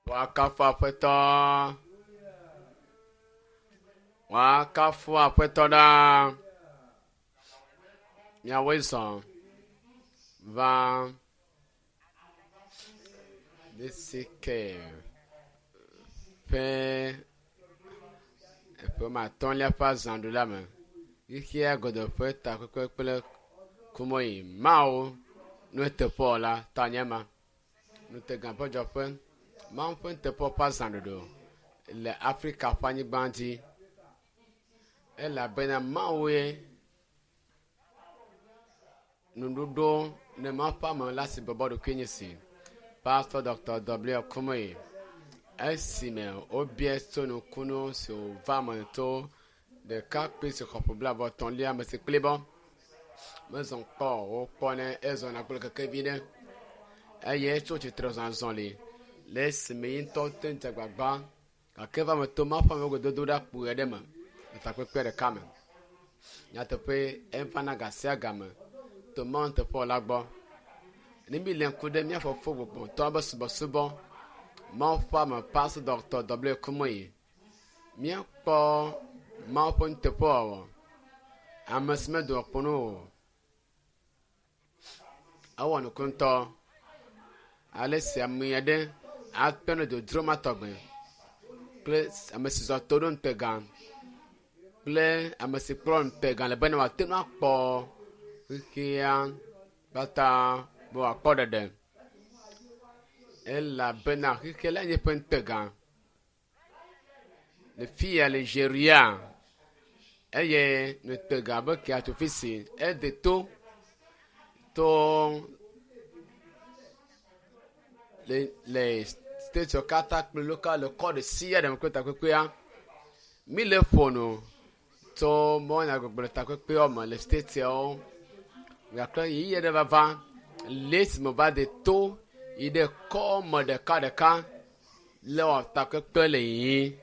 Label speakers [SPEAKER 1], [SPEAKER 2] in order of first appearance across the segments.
[SPEAKER 1] Woakafu Aƒetɔ. Woakafu Aƒetɔ ɖaa. Miawoe zɔ va DCK ƒe eƒe ma atɔ̃lia ƒe azãɖuɖu me. Xexea godoo ƒe takpekpe kple kumɔyi Mawu nuteƒewɔla tanye ma. Ŋutega ƒe dzɔƒe, Mawu ƒe nuteƒewɔwɔ ƒe azãɖuɖu le Afrika ƒe anyigba dzi elabena Mawue nuɖoɖo ne Mawu ƒe ame la si bɔbɔ ɖokui nye si. Pastor Dr. W. Kumuyi esime wobia tso nukunu si wòva me to ɖekakpui si xɔ ƒe blaeve-etɔ̃lia me si kplibɔ mezɔ kpɔ o wokpɔ ne ezɔna kple kekevi ɖe eye etso tsitre zɔ azɔli le esime ye ŋutɔ te ŋu dze agbagba gake eva me to Mawu ƒe amewo gododo ɖa kpui aɖe me le takpekpe ɖeka me. Nyateƒe evana ga sia game to Mawu nuteƒewɔla gbɔ. Ne mílé ŋku ɖe mía fofo gbɔgbɔtɔ be subɔsubɔ Mawu ƒe ame Pastor Dr. W. Kumuyi míakpɔ Mawu ƒe nuteƒewɔwɔ ame si medoa kpo nu o. Ewɔ nuku ŋutɔ ale si ame aɖe akpe ɖe dodro ma tɔgbe kple ame si zɔ to ɖo ŋutega kple ame si kplɔ ŋutega le bena wòate ŋu akpɔ xexea katã be wòakpɔ ɖeɖe elabena xexea la nye eƒe ŋutega. Le fi ya le Nigeria eye ŋutega be kea tso fi si ede to to le le stateswo katã kple local le kɔ ɖe sia ɖe me kple takpekpea. Mi le ƒo nu tso mɔnyagbɔgblɔ takpekpeawo me le stateswo gake ɣeyiɣi aɖe vava le esime va de to yi ɖe kɔme ɖekaɖeka le wɔ takpekpe le yiyim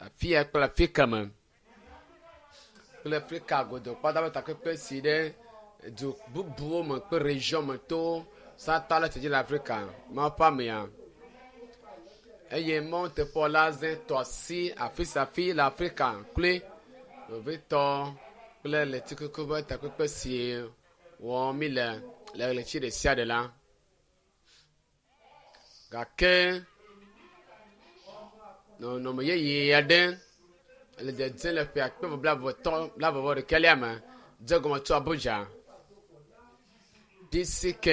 [SPEAKER 1] afi ya kple afi keme kple Afrika godoo kpata ƒe takpekpe si ɖe du bubuwo me kple region me to South le dzi le Afrika Mawu ƒe amea eye Mawu teƒewɔla ze tɔ asi afi sia afi le Afrika kloe vevitɔ kple ɣletikuku ƒe takpekpe si wɔm mi le le ɣleti ɖe sia ɖe la. Gake nɔnɔme yeye aɖe le dzedzem le ƒe akpe blaeve blaeve vɔ ɖekɛlia me dze egɔme tso Abuja. DCK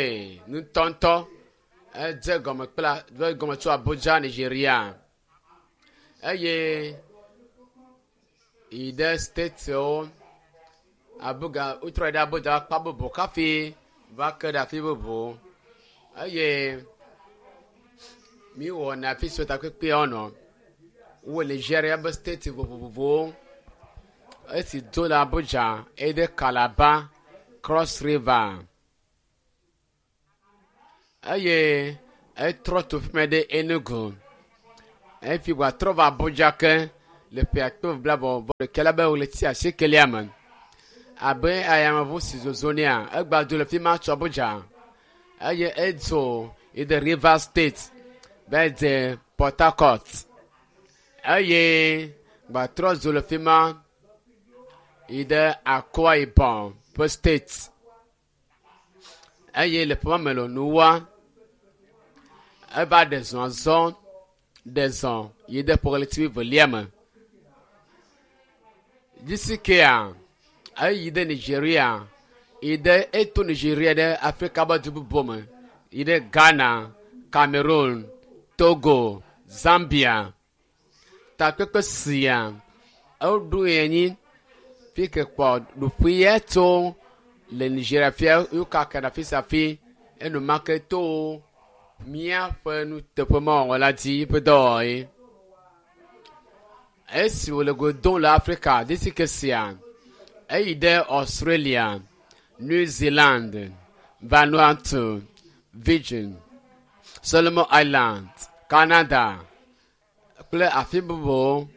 [SPEAKER 1] ŋutɔŋutɔ edze egɔme kple dze egɔme tso Abuja, Nigeria eye yi ɖe statewo Abuga wotrɔ yi ɖe Abuja akpa bubu hafi va ke ɖe afi bubu eye míwɔna afi siwo takpekpeawo nɔ. Wowɔ Nigeria ƒe state vovovowo. Esi do le Abuja eye ɖe Calabar, Cross River eye etrɔ to fi mɛ ɖe Enugu. Efi wòatrɔ va Abuja ke le ƒe akpe blaeve vɔ ɖeka la be ɣleti asiekelia me. Abe ayameʋu si zozo nɛa, egba dzo le fi ma tso Abuja eye edzo yi ɖe Rivers State va dze Port Harcourt eye gbatrɔ dzo le fi ma yi ɖe Akwa Ibom ƒe state eye le ƒe ma me le nuwa eva ɖe zɔ azɔ ɖe zɔ yi ɖe ƒe ɣleti wuievelia me. GCK-a eyi ɖe Nigeria yi ɖe eto Nigeria ɖe Afrika ƒe du bubu me yi ɖe Ghana, Cameroon, Togo, Zambia. Takpekpe sia eɖoe anyi fi ke kpɔ ɖoƒe ya tso le Nigeria fia wokaka ɖe afi sia afi enumake to míaƒe nuteƒemawɔwɔ la dzi ƒe dɔwɔɣi. Esi wòle go dom le Afrika DCK sia, eyi ɖe Australia, New Zealand, Vanuatu, Virgin, Solomon Island, Canada kple afi bubuwo.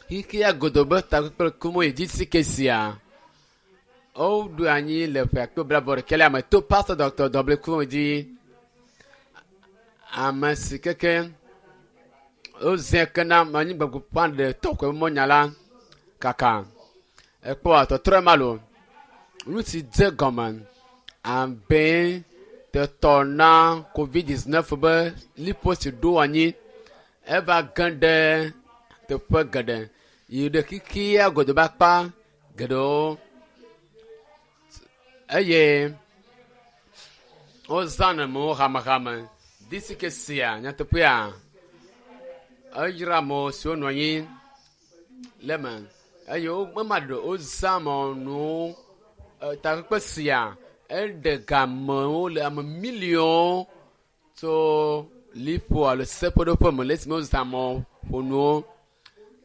[SPEAKER 1] Xexea godoo be takpekpe Kumuyi DCK sia woɖo anyi le ƒe akpe blaeve ɖekɛlia me to Pastor Dr. W. Kumuyi dzi. Ame si keke wozẽ ke na anyigbaƒãɖetɔ koe mɔnya la kaka. Ekpɔa tɔtrɔ ma lo. Nu si dze gɔme abe tetɔ na COVID-19 be liƒo si ɖo anyi eva ge ɖe teƒe geɖe yi ɖe xexea godo be akpa geɖewo eye wozã nɔnɔmewo hamehame. Disike sia nyateƒea eyra ame siwo nɔ anyi le eme eye wo ema ɖe wozã mɔnuwo takpekpe sia eɖe gamewo le ame miliɔnwo tso liƒo alo seƒeɖoƒe me le esime wozã mɔƒonuwo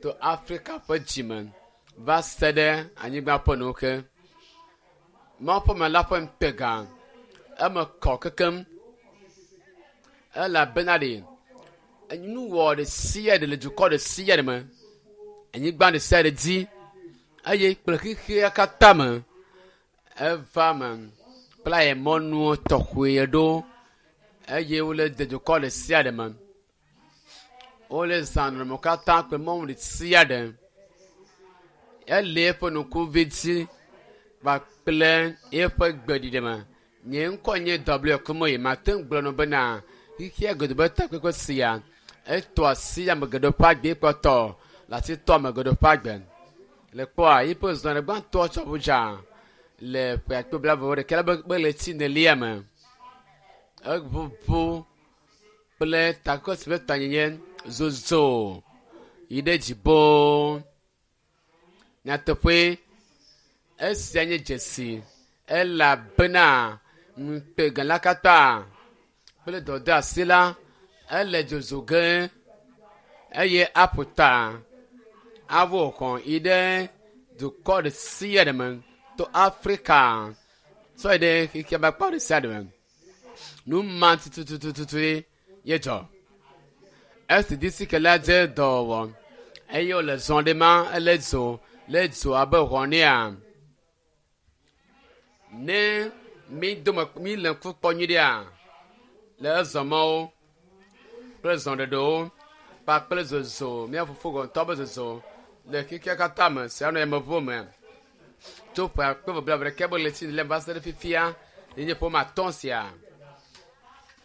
[SPEAKER 1] to Afrika ƒe dzime va se ɖe anyigba ƒe nuwo ke. Mawu ƒe ame la ƒe ŋutega eme kɔ kekem elabena ɖe nuwɔ ɖe sia ɖe le dukɔ ɖe sia ɖe me, anyigba ɖe sia ɖe dzi eye kple xexea katã me eva me kple aye mɔnuwo tɔxɛ ɖo eye wole de dukɔ ɖe sia ɖe me. Wole zã nɔnɔmewo katã kple mɔnu ɖe sia ɖe. Ele eƒe ŋkuvi dzi kpakple eƒe gbeɖiɖe me. Nye ŋkɔ nye W Kumoyi. Mate ŋu gblɔ nɔ bena xexea godo be takpekpe sia etɔ asi ame geɖewo ƒe agbe kpɔtɔ le asi tɔ ame geɖewo ƒe agbe. Le kpɔa yiƒe zɔɖe gbãtɔ tsɔ ʋu dza le ƒe akpe blaeve vɔ ɖeka la be ɣleti enelia me. Eʋuʋu kple takpekpe si ƒe tanyenye zozo yi ɖe dzi boo. Nyateƒe esia nye dzesi elabena ŋutegã la katã kple dɔdeasi la ele dzodzo ge eye aƒo ta awɔ xɔ yi ɖe dukɔ ɖe sia ɖe me to Afrika sɔ yi ɖe xexea ƒe akpa ɖe sia ɖe me. Nu ma tutututu ye dzɔ. Esi disike la dze dɔwɔwɔ eye wòle zɔ ɖe ma ele dzo le dzo abe ʋɔ nea. Ne mi dome mi le ŋku kpɔ nyui ɖea le ezɔmɔwo kple zɔɖeɖewo kpakple zozo mía fofo gɔntɔ be zozo le xexea katã me sia nɔ yameʋuwo me tso ƒe akpe eve blaeve ɖeka be ɣleti le va se ɖe fifia ye nye ƒe atɔ̃ sia.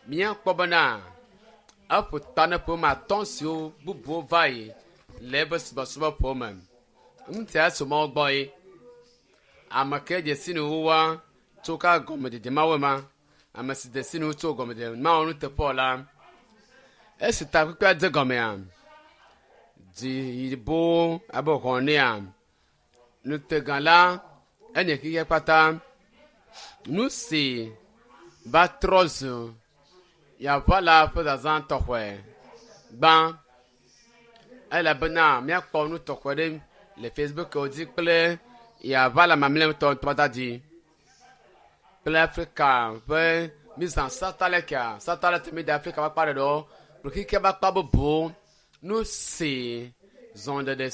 [SPEAKER 1] Míakpɔ bena eƒo ta ne ƒe atɔ̃ siwo bubuwo va yi le eƒe subɔsubɔ ƒe me. Ŋutia tso Mawu gbɔ ye. Ame ke dze si nuwuwua tso ka gɔmedzedze mawo ma. Ame si dze si nu tso gɔmedzedze mawo nuteƒe la. Esi takpekpea dze gɔmea, dzi yibo abe ʋɔ nea. Ŋutega la enye xexea kpata. Nu si va trɔ zu yaʋala ƒe zazã tɔxɛ gbã elabena míakpɔ nu tɔxɛ ɖe le Facebook dzi kple yaʋala mamlɛtɔ ŋutɔ dzi kple Afrika ƒe mizã satellite satellite mi de Afrika ƒe akpa ɖeɖewo kple xexea ƒe akpa bubuwo. Nu si zɔɖeɖe